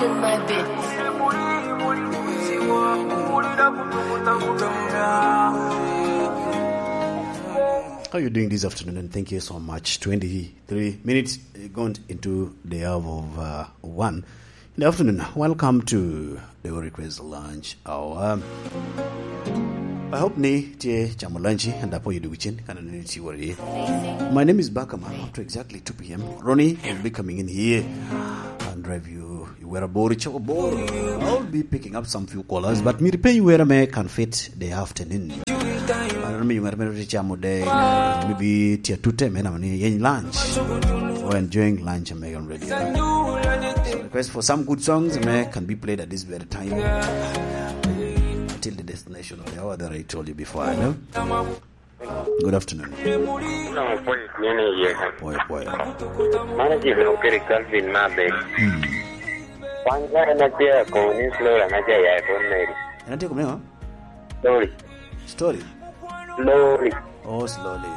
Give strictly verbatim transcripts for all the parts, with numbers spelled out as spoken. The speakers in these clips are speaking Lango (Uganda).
In my bed. How you doing this afternoon? And thank you so much. Twenty-three minutes, uh, gone into the hour of, uh, one in the afternoon. Welcome to the Request Lunch Hour. I hope ni tye camo lunch and apo yudu wichin kana ni ti wori. My name is Bakama. Up to exactly two p m. Ronnie will be coming in here and drive you where bor choko bor. I'll be picking up some few callers, but mi ripe where me can fit the afternoon. Ano mi where me ti chamo de, maybe tia tute me na ni yen lunch or enjoying lunch and Megan Radio. So request for some good songs me can be played at this very time. Until the destination of the hour that I told you before, I know. Good afternoon. Nongo pwony tye ni iye ka. Pwoyo, pwoyo. Mano jami okelo i Calvin me abel. Mm. Wan ka en atye akobo ni Flora na ja ya i Fort Mary. En atye akobo ni ŋo? Lori. Story? Lori. Oh, slowly.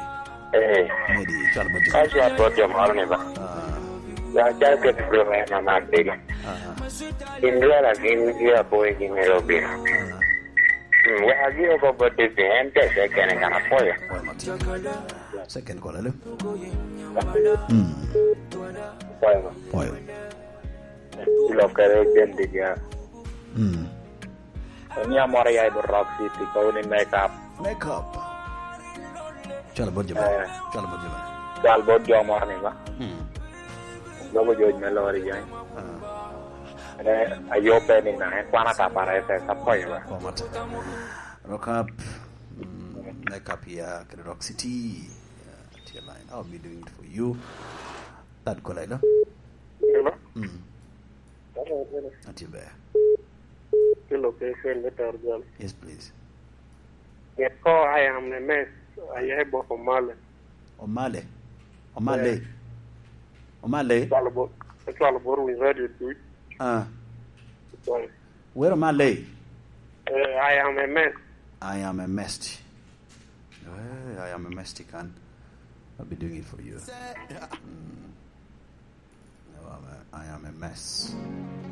Eh. Medi, cwal bot jo. Ka cwal bot jo moro ni ba. Ah. Ya calo ket Flora en ama abel. Ah. Gin dwara gin jo aboyo gin myero obino. Ah. Mm, wek agik oko bot David, en tye se kene kan apwoyo. Pwoyo matin. Se kene kola, alo? Mm. Pwoyo. Pwoyo. Ilokere Jen Diga. Mm. Ni amoro ya i bot Rock City, kobo ni make up. Make up. Cwalo bot jo bene. Eh. Cwalo bot jo bene. Cwal bot jo moro ni ba. Mm. Lobo jo me lori jami. Ah. Ene, ayo pe ni na, en kwana ka para ese, sa poyo ba. Kwa mata. Rock up. Mm, make up here, kede Rock City. Yeah, tye line. I'll be doing it for you. That go, Laila. Hello? Mm. Hello, hello. Atye ber. Hello, ke, ke, me tar jal. Yes, please. Yes, ko, I am a mess. I have Bob Omale. Omale? Omale? Eh. Omale? Cwalo bo-, cwalo bor winy radio duc. Ah. Sorry. Wero Omale? Eh, I am a mess. I am a mess. Eh, I am a mess, kan. I'll be doing it for you. Mm. No, I'm a, I am a mess.